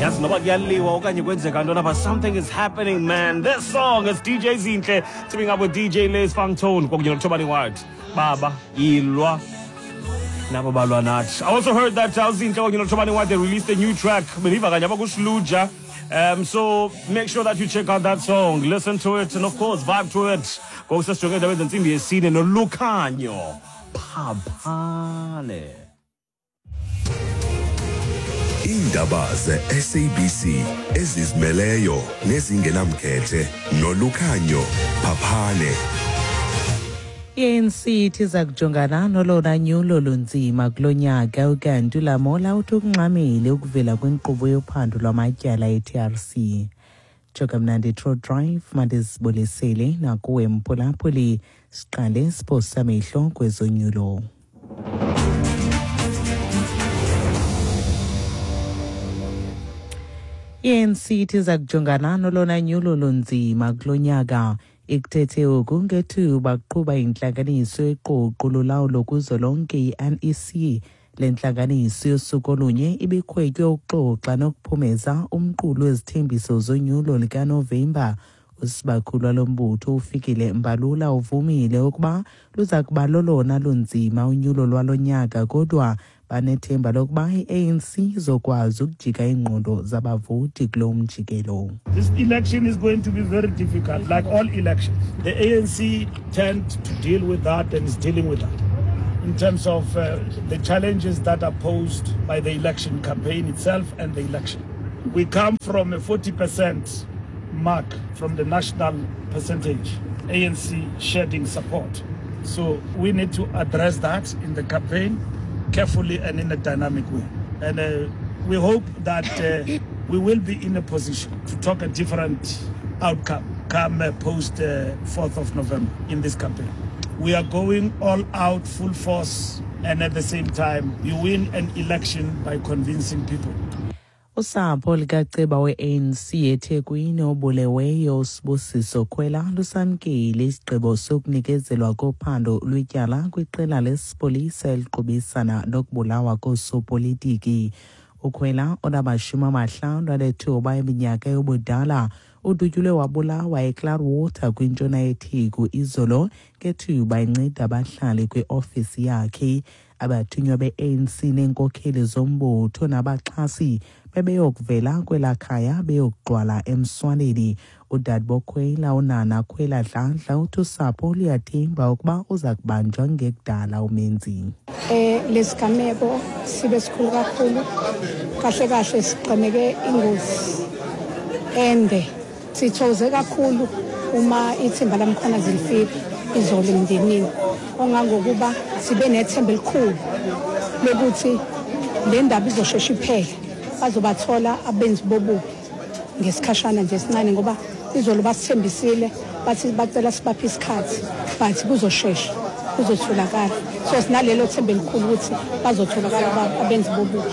Yazi noba kuyaliwa okanye kwenzeka ntoni apha, something is happening, man. This song is DJ Zinhle teaming up with DJ Liz Fangtone kwakunye noThobani White. Baba yilwa nabo balwa nathi. I also heard that uZinhle kwakunye noThobani White, they released a new track. Bendiva kanye apha kuSluja. So make sure that you check out that song, listen to it, and of course vibe to it. Ngoku sesijonge indaba zentsimbi yesine noLukhanyo Phaphane. Iindaba ze-SABC ezizimeleyo nezingenamkhethe noLukhanyo Phaphane. I-ANC ithi iza kujongana nolona nyulo lunzima kulo nyaka, ukanti uLamola uthi ukungxamile ukuvela kwinkqubo yophando lwamatyala e-TRC. Joka mnandi True Drive, mandizibulisele nakuwe mphulaphuli. Siqale siphosa amehlo kwezonyulo. I-ANC ithi iza kujongana nolona nyulo lunzima kulo nyaka. Ikuthethe oku ngethuba kuqhuba intlanganiso yeqoqo lolawulo kuzwelonke i-NEC. Le ntlanganiso yosuku olunye ibikhwetywe ukuxoxa nokuphumeza umqulu wezithembiso zonyulo likaNovemba. Usibakhulu walo mbutho uFikile Mbalula uvumile ukuba luza kuba lolona lunzima unyulo lwalo nyaka, kodwa banethemba lokuba i-ANC izokwazi ukujika iingqondo zabavoti kulo mjikelo. This election is going to be very difficult, like all elections. The ANC tend to deal with that and is dealing with that in terms of the challenges that are posed by the election campaign itself and the election. We come from a 40% mark from the national percentage, ANC shedding support. So we need to address that in the campaign carefully and in a dynamic way. And we hope that we will be in a position to talk a different outcome come post 4th of November in this campaign. We are going all out, full force, and at the same time, you win an election by convincing people. Usapho likaceba we-ANC eThekwini obuleweyo uSibusiso Khwela lusamkele isigqibo sokunikezelwa kophando lwetyala kwiqela lesipolisa eliqubisana nokubulawa koosopolitiki. UKhwela onama-59 eminyaka yobudala udutyulwe wabulawa eClaarwater kwintshona yeTheku izolo ngethuba enceda abahlali kwiofisi yakhe. Abathunywa be-ANC neenkokheli zombutho nabaxhasi bebeyokuvela kwelaa khaya beyokugqwala emswaneni. Udadebokhwela uNana Khwela Dladla uthi usapho luyathemba ukuba uza kubanjwa ngekudala umenzi. Lesigameko sibe sikhulu kakhulu, kahle kahle sigqemeke ingozi ende. Sithokoze kakhulu uma ithimba laMkhwanazi lifika izolo emndenini, ongangokuba sibe nethemba elikhulu lokuthi le ndaba izoshesha iphele, bazobathola abenzi bobubi ngesikhashana nje esincane, ngoba izolo basithembisile bathi bacela sibaphe isikhathi, but kuzoshesha kuzotholakala. So sinalelo themba elikhulu ukuthi bazotholakala abenzi bobubi.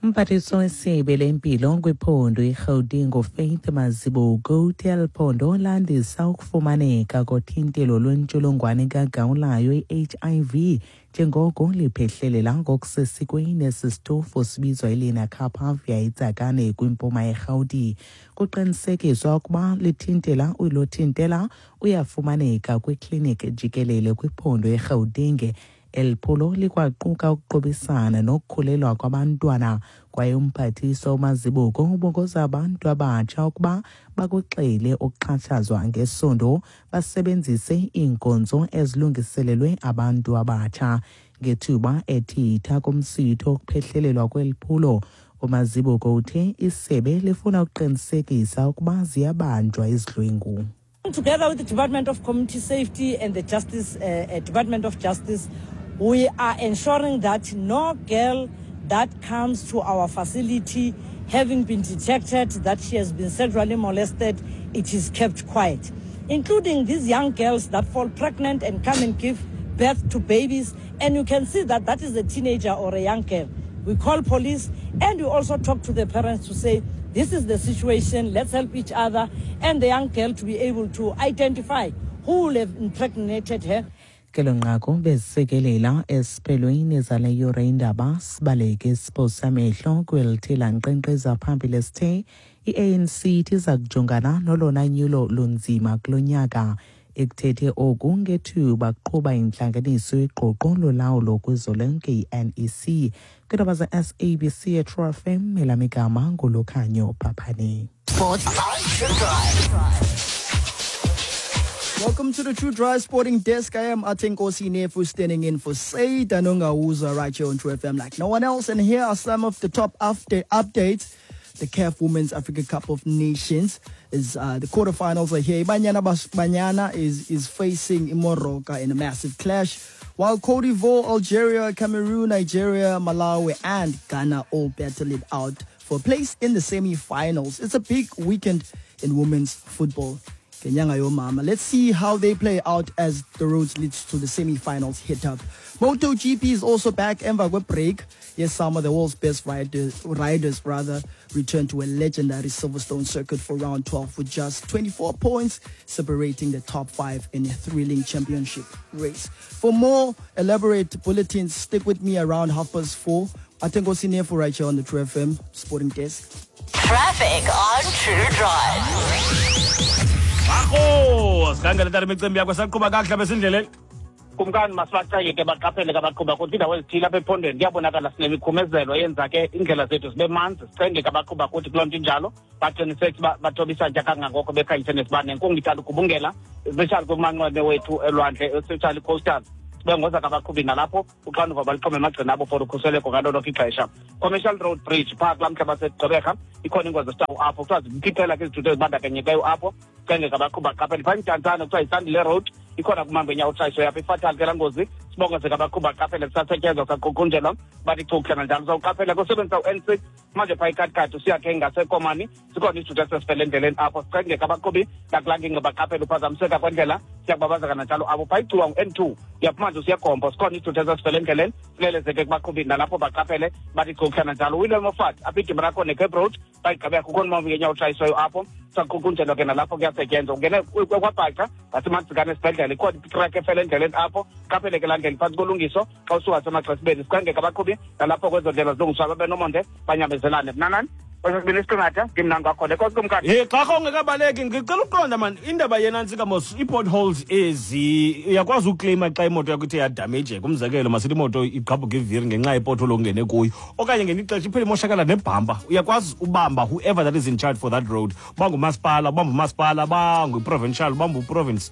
Umphathiswa wesebe lempilo kwiphondo iRhawutini uFaith Mazibuko uthe eli phondo landisa ukufumaneka kothintelo lwentsholongwane kagawulayo i-HIV njengoko liphehlelela ngokusesikweni esi sitofu sibizwa iLenacapavir eTsakane kwimpuma yeRhawuti. Kuqinisekiswa ukuba lithintela ulothintela uyafumaneka kwikliniki jikelele kwiphondo eRhawutini. Eli phulo likwaquka ukuqubisana nokukhulelwa kwabantwana, kwaye umphathiswa uMazibuko ubongoza abantu abatsha ukuba bakuxele ukuxhatshazwa ngesondo, basebenzise iinkonzo ezilungiselelwe abantu abatsha. Ngethuba ethitha kumsitho wokuphehlelelwa kweli phulo, uMazibuko uthe isebe lifuna ukuqinisekisa ukuba ziyabanjwa izidlwengu. Together with the Department of Community Safety and the Department of Justice, we are ensuring that no girl that comes to our facility having been detected that she has been sexually molested, it is kept quiet, including these young girls that fall pregnant and come and give birth to babies. And you can see that that is a teenager or a young girl. We call police and we also talk to the parents to say, this is the situation, let's help each other, and the young girl to be able to identify who will have impregnated her. Kelo nqaku bezisikelela esiphelweni zale yure indaba. Sibaleke isiphosa amehlo kwelithi lankqenkqeza phambili sithe i-ANC ithi iza kujongana nolona nyulo lunzima kulo nyaka. Ekuthethe oku ngethuba kuqhuba intlanganiso yeqoqo lolawulo kuzolonke i-NEC. Kwiindaba ze-SABC eTrue FM, elam igama nguLukhanyo Phaphane. Sports. Welcome to the True Drive Sporting Desk. I am Atenkosi Nefu, standing in for Said Anongauza right here on True FM like no one else. And here are some of the top updates. The CAF Women's Africa Cup of Nations is the quarterfinals are here. Banyana Banyana is facing Morocco in a massive clash, while Cote d'Ivoire, Algeria, Cameroon, Nigeria, Malawi, and Ghana all battle it out for a place in the semi-finals. It's a big weekend in women's football. Let's see how they play out as the roads leads to the semi-finals hit up. MotoGP is also back. Emva kwe break. Yes, some of the world's best riders return to a legendary Silverstone circuit for round 12 with just 24 points separating the top 5 in a thrilling championship race. For more elaborate bulletins, stick with me around 4:30. Atenkosi Nefu right here on the True FM Sporting Desk. Traffic on True Drive. Akho, sikhangele tata imicimbi yakho saqhuba kakuhle apha esindleleni. Kumkani, masibaceke ke baqaphele ke abaqhuba kuthi indawo ezithile apha ephondweni kuyabonakala sinemikhumezelo eyenza ke iindlela zethu zibe manzi. Sicenge ke abaqhuba kuthi kuloo nto injalo baqiniseke uba bathoba isantya kangangoko bekhanyise nesibane. Nenkungu ithanda ugubungela, especially kumanxweme wethu elwandle, especially coastal. Sibengoza ke abaqhubi nalapho uxanduva balixhome emagxeni abo for ukhuseleko ngalo lonke ixesha. Commercial Road Bridge phaa kulaa mhla baseGqeberha ikhona ingozi esitawu apho kuthiwa zimphithela ke izithuthi ezibandakanyekileyo apho. Sicenge ke abaqhubi baqaphele. Phaa eMdantsane kuthiwa yiSandile Road ikhona kumhambo enyawo utshayiso yapha ifatal ke laa ngozi. Sibongoze ke abaqhubi baqaphele, kusasetyenzwa kusaqukunjelwa bathi chukuhle kanjalo. Sawuqaphela kusebenzisa u-N6 manje phaa iKatikati usiyakhe ngaseKomani sikhona isithuthi esesifele endleleni apho. Sicenge ke abaqhubi nakulaa ngingqi baqaphele uphazamiseka kwendlela, siyakubabaza kananjalo apho. Phaa iGcuwa ngu-N2 uyaphuma nje usiyaGompo sikhona isithuthi esesifele endleleni, silelezeke kubaqhubi nalapho baqaphele bathi chukuhle kananjalo. William Moffat apha idibana lakho neCape Road bayigqibeka kukhona umhambi ngenyawo otshayiswayo apho, saqukunjelwa ke nalapho kuyasetyenzwa. Ungene kwaBhaca ngaseMadzikane esibhedlele ikhona itrak efele endleleni apho, qaphele ke laa ndlela phantsi kolungiso xa usuka semaXesibeni. Sicenge ke abaqhubi nalapho kwezo ndlela zilungiswayo babe nomonde banyamezelane. Mnanani kwesesibini isiqingatha ndimnani kwakhona. Enkosi kumkani. Hey, xa ungekabaleki ngicela ukuqonda man, indaba yenantsika mos ii-potholes ezi uyakwazi ukleyima xa imoto yakho ithe yadamejeka. Umzekelo, masithi imoto igqabhuka iviri ngenxa yepothole ongene kuyo, okanye ngelinye ixesha iphele imoshakala nebhampa. Uyakwazi ubamba whoever that is in charge for that road, bangumasipala, bamba umasipala, bangu-provincial, bamba uprovince.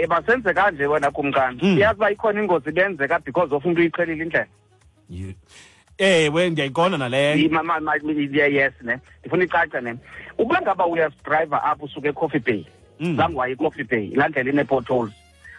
Basenze kanje wena kumkani. Uyazi uba ikhona ingozi ibenzeka because of umntu uyiqhelile indlela. Ewe, ndiyayiqonda naleyo. Yes ne, ndifuna icace ne. Ukuba ngaba uyazidrayiva apho usuka eCoffee Bay, zange waye eCoffee Bay, laa ndlela inee-potholes,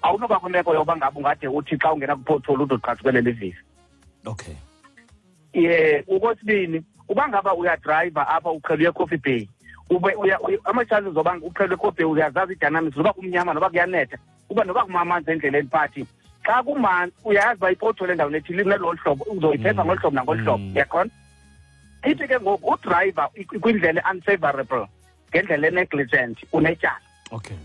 awunoba kwimeko yoba ngaba ungade uthi xa ungena kwi-pothole ude uqhathukele livili. Okay. Ye, okwesibini, uba ngaba uyadrayiva apha uqhele uye eCoffee Bay, ube ama-chances zoba uqhele eCoffee Bay uyazazi ii-dynamics noba kumnyama noba kuyanetha, uba noba kumamanzi endleleni, but xa kumanzi uyayazi uba ipothole endaweni ethile inelo hlobo, uzoyiphepha ngolu hlobo nangolu hlobo, uyaqonda? Ithi ke ngoku udrayiva kwindlela e-unfavorable ngendlela e-negligent unetyala. Okay.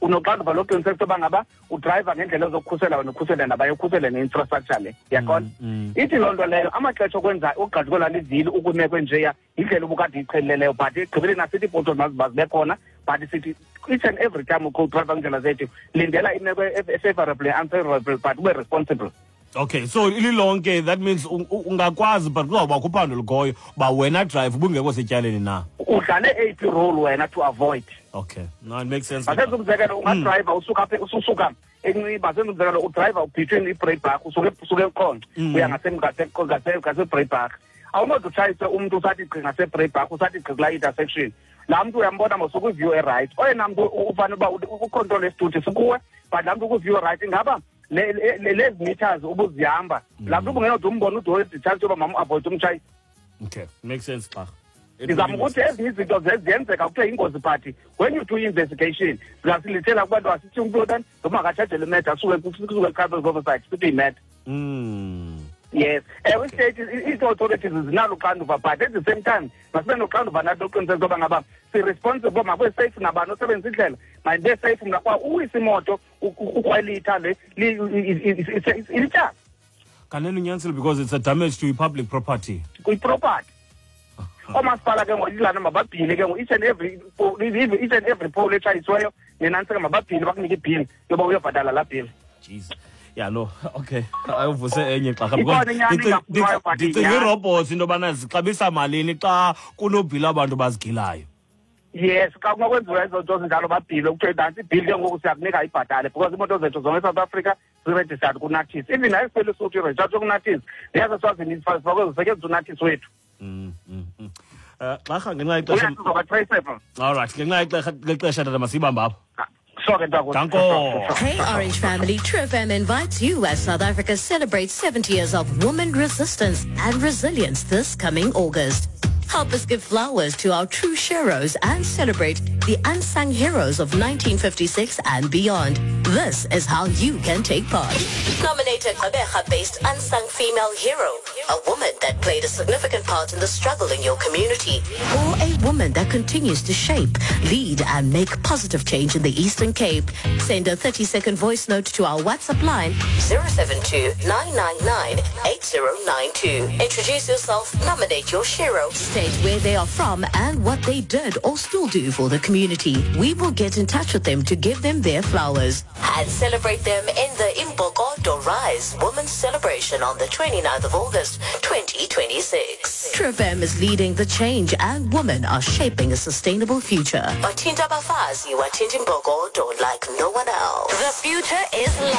Unoxanduva lokuqiniseka uba ngaba udrayiva ngendlela ezokukhusela wena, ukhusele nabaye, ukhusele ne-infrastructure le, uyaqonda? Ithi loo nto leyo amaxesha okwenza ugqajukelwa livili ukwimeko enjeya yindlela ubukade uyiqhelileyo, but ekugqibeleni asithi iipothole maziba zibe khona, but sithi each and every time udrayiva kwiindlela zethu lindela imeko e-favorable and unfavorable, but ube responsible. Okay, so ililonke that means ungakwazi, but kuzawubakho uphando lukhoyo uba wena drive ubungekho setyaleni na. Udlale eyiphi role wena to avoid. Okay, no, it makes sense. Masenze umzekelo, ungadrayiva usuka apha ususuka eNciba, senze umzekelo udrayiva between iBreidbach usuke eQonce uya ngaseBreidbach. Awunoze utshayise umntu usathi gqi ngaseBreidbach, usathi gqi kulaa intersection. Laa mntu uyambona mos ukwi-view e-right. Oyena mntu ufanele uba ucontrol isithuthi sikuwe, but laa mntu ukwi-view e-right ingaba lezi meters ubuzihamba laa mntu ubungenode umbone ude chance yoba mamu-avoid umtshayi. Okay, makes sense xa. Ndizama ukuthi ezinye izinto ziyenzeka kuthiwe yingozi, but when you do investigation singasilithela kubantu asithi umntu otani noba makatshajele imetha asuke kusuke oversight sithi yimetha. Yes, ewe, state ii-authorities zinalo uxanduva, but at the same time masibe noxanduva nathi lokuqiniseka into yoba ngaba si-responsible, makube safe nabani osebenzisa indlela, mayibe safe. Mna kwa uwisa imoto ukrwelitha le ilityala. Kanene unyanisile, because it's a damage to public property. Kwi-property. Oomasipala ke ngoku ilana mababhile ke ngoku each and every pole etshayisiweyo nenantsika, mababhile, bakunike ibhili yoba uyobhatala laa bhili. Jeez, yeah, no, okay, ayuvuse enye xarha. Ikhona inyani engafunwayo, but Ndicinga inyani. ii-robots, into yobana zixabisa malini xa kunobhila abantu bazigilayo. Yes, xa kunokwenziwa ezo nto zinjalo, babhile, kuthiwe nantsi ibhili ke ngoku, siyakunika ibhatale, because iimoto zethu zonke eSouth Africa ziregistered kuNatis. Even nayo isipeli suthu iregistered kuNatis, neyaseswazini ifakwe zisetyenziswa uNatis wethu. Xarha, ngenxa yexesha. Uyazizoba traceable. All right, ngenxa yexesha tata, masiyibambe apho. Sure ke, ntakuthi. Danko. Hey Orange family, True FM invites you as South Africa celebrates 70 years of woman resistance and resilience this coming August. Help us give flowers to our true heroes and celebrate the unsung heroes of 1956 and beyond. This is how you can take part. Nominate a Gqeberha-based unsung female hero, a woman that played a significant part in the struggle in your community, or a woman that continues to shape, lead, and make positive change in the Eastern Cape. Send a 30-second voice note to our WhatsApp line 072 999 8092. Introduce yourself, nominate your hero, state where they are from and what they did or still do for the community. We will get in touch with them to give them their flowers and celebrate them in the Imbokodo Rise Women's Celebration on the 29th of August 2026. True FM is leading the change and women are shaping a sustainable future. Bathinta abafazi, wathinta imbokodo like no one else. The future is live.